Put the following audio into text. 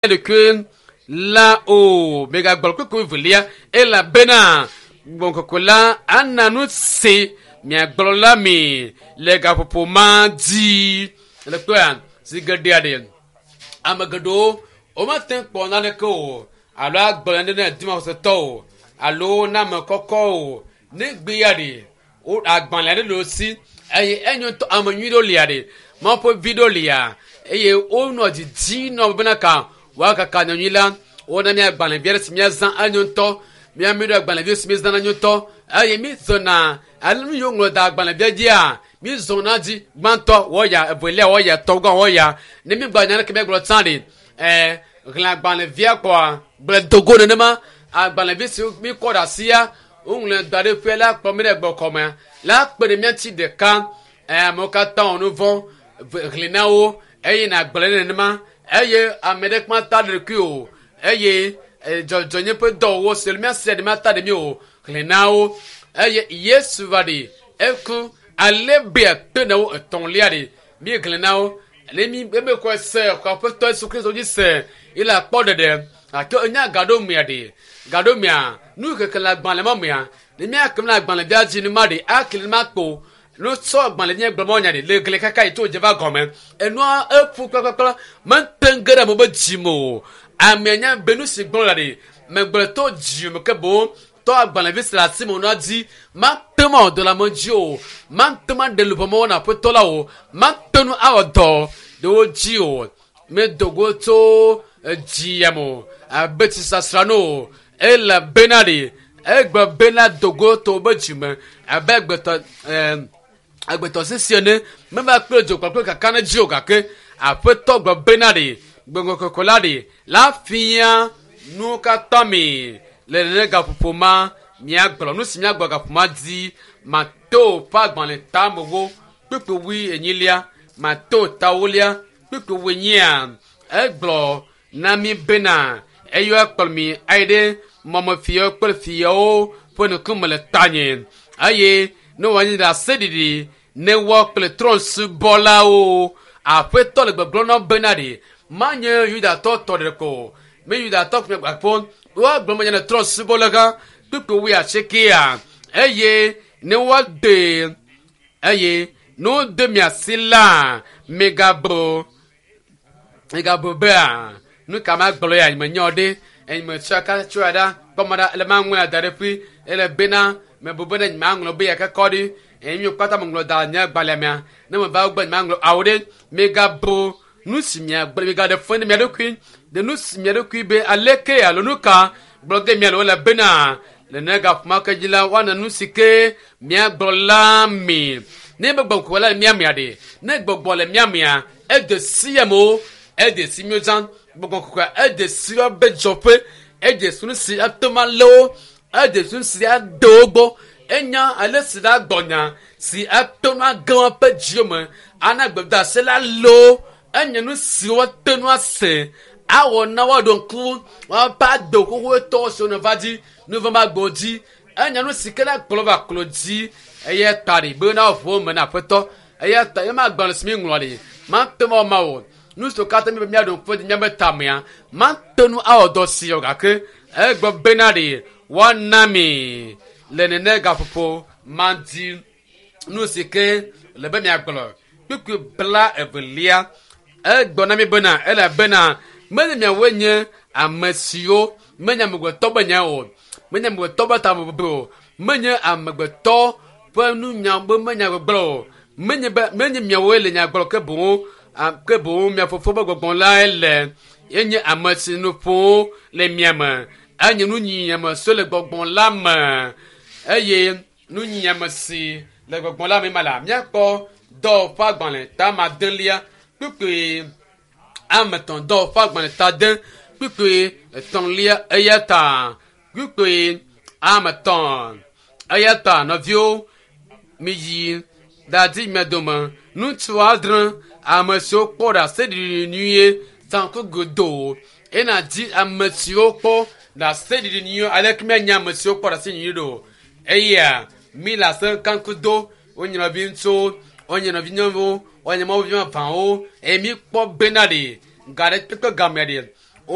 Ɖekue la o. Megagblɔ kpukpui velia elabena Gbɔgbɔ Kɔkɔe la ana nu si miagblɔ la mi le gaƒoƒo ma dzi. Le kpɔa zi geɖea ɖe ame geɖewo womate ŋu kpɔ naneke o alo agblɔ nane na dumaxɔsetɔ o alo na ame kɔkɔ o. Ne gbea ɖe wo agbalẽ aɖe le wo si eye enyo ŋutɔ ame nyui ɖewo lia ɖe Mawu ƒe vi ɖewo lia eye wonɔ didi nɔ bena ka woakaka nyanyui la wona mí agbalẽvi aɖe si míazã enyo ŋutɔ mía mi ɖo agbalẽvi si míezãna nyo ŋutɔ eye mízɔna ale nu yiwo ŋlɔ da agbalẽvia dzia mízɔna dzi gbãtɔ wɔya evelia wɔya tɔgã wɔya ne mígba nya ɖeke míagblɔ tsã ɖe ɛɛ xlẽ agbalẽvia kɔa gblẽ dogo nenema agbalẽvi si míkɔ ɖe asia woŋlɔ da ɖe ƒe la kplɔ mí ɖe gbɔkɔmea la kpe ɖe mía ŋuti ɖeka ɛɛ amewo katã wɔ nu vɔ̃ xlẽ na wo eye nàgblẽ nenema eye ame ɖe kpa ta ɖekui o eye dzɔdzɔnye ƒe dɔwɔwɔ si le míasi ɖe míata ɖe mí o xlẽ na wo eye Yesu va ɖi eku ale be akpe na wo etɔ̃lia ɖi mi xlẽ na wo ne mi ebe kɔ se kɔ aƒetɔ Yesu Kristo dzi se yi le akpɔ ɖeɖe gake enya gaɖo mea ɖi gaɖo mea nu keke le agbalẽ ma mea ne míakem le agbalẽvia dzi ne ma ɖi akli ma kpo no sɔ agbalẽ nye gblɔ nya ɖi le gli kaka yi tso dze va gɔme enua eƒu kplakplakpla mete ŋu ge ɖe ame be dzime o amea nya be nu si gblɔ la ɖi megblɔ to dzime ke boŋ tɔ agbalẽvi si le asi me nua dzi mate ŋu awɔ dɔ le ame dzi o mate ŋu aɖe luʋɔ me wɔna aƒetɔ la o mate ŋu awɔ dɔ ɖe wo dzi o medo go tso edzi ya me o abe tsisasra no o elabena ɖi egbe bena dogo to be dzime abe agbetɔ ɛɛ agbetɔ sisi ene meva kple dzo kpakple kaka ne dzi o gake aƒetɔ gbe bena ɖi gbɔgbɔ kɔkɔe la ɖi la fia nuwo katã mi le nene gaƒoƒo ma miagblɔ nu si miagblɔ gaƒoƒo ma dzi Mateo ƒe agbalẽ tamewo kpukpui wui enyilia Mateo tawolia kpukpui wui enyia egblɔ na mi bena eyɔ ekplɔ mi ayi ɖe mɔmefiawo kple fiawo ƒe ŋkume le tanye eye ne wòanyi ɖaseɖiɖi ne woa kple trɔ̃subɔlawo aƒetɔ le gbɔgblɔm na bena ɖe manye yudatɔ tɔ ɖe ko me yudatɔ kple gbakpo woagblɔ menye ne trɔ̃subɔla gã kpukpui wui asiekea eye ne woade eye ne wode mia si la megabu megabu bea nu ka ma gblɔ ya nye nya ɖe enye me tsɔ ka tsɔ ɖa kpɔmɔ ɖa ele ma ŋlɔ da ɖe ƒui ele bena mebu bena nye ma ŋlɔ be ya kekɔ ɖi eye mi kpata me ŋlɔ da nye agbalẽ mea ne me va gbɔ nye ma ŋlɔ awo ɖe megabu nu si miagblɔ migaɖe fɔ ne mia ɖokui ɖe nu si mia ɖokui be aleke alo nu ka gblɔ ge mia le wole bena le ne gaƒoma ke dzi la woana nu si ke miagblɔ la mi ne be gbɔgbɔ la le mia mea ɖe ne gbɔgbɔ le mia mea ede si amewo ede si miwo zã gbɔgbɔ kɔkɔe ede si woabe dzɔƒe ede si nu si ate ŋu alé wo ede si nu si ade wo gbɔ enya ale si la gbɔnya si ate ŋu age woƒe dziwo me ana gbedeasi la lé wo enye nu si woate ŋu ase awɔ na woaɖo ŋku woaƒe agbe xoxoetɔ siwo ne va dzi nu va ma gbɔ dzi enye nu si ke la kplɔ va klo dzi eya ta ɖi be na ʋu me na aƒetɔ eya ta ema agbalẽ si mi ŋlɔ ɖi mate ŋu awɔ ma o nu siwo katã mi be miaɖo ŋku edzi miabe tamea mate ŋu awɔ dɔ si o gake egblɔ bena ɖi woana mi le nene gaƒoƒo ma dzi nu si ke le be miagblɔ kpukpui bla evelia egblɔ na mi bena elabena menye miawoe nye ame siwo menye amegbetɔ be nya o menye amegbetɔ be tamebubu o menye amegbetɔ ƒe nunya be menya gbɔgblɔ o menye be menye miawoe le nya gblɔ ke boŋ ke boŋ mia fofo be gbɔgbɔ lae le enye ame si nu ƒom le mia me enye nunyiame si le gbɔgbɔ la me eye nunyiame si le gbɔgbɔ la me ma la míakpɔ dɔwɔƒe agbalẽ ta madelia kpukpui ame etɔ̃ dɔwɔƒe agbalẽ ta de kpukpui etɔ̃lia eya ta kpukpui ame etɔ̃ eya ta nɔviwo miyi dadi mia dome ŋutsu adre ame siwo kpɔ ɖaseɖiɖi nyuie zanku godoo ena dzi ame siwo kpɔ ɖaseɖiɖi nyuie aleke mianya ame siwo kpɔ ɖaseɖiɖi nyuie ɖo eya mi le ase kanku do wonye nɔvi ŋutsuwo wonye nɔvi nyɔnuwo wonye mawuvi vavãwo eye mi kpɔ bena ɖe ga ɖe kpekpe gamea ɖe.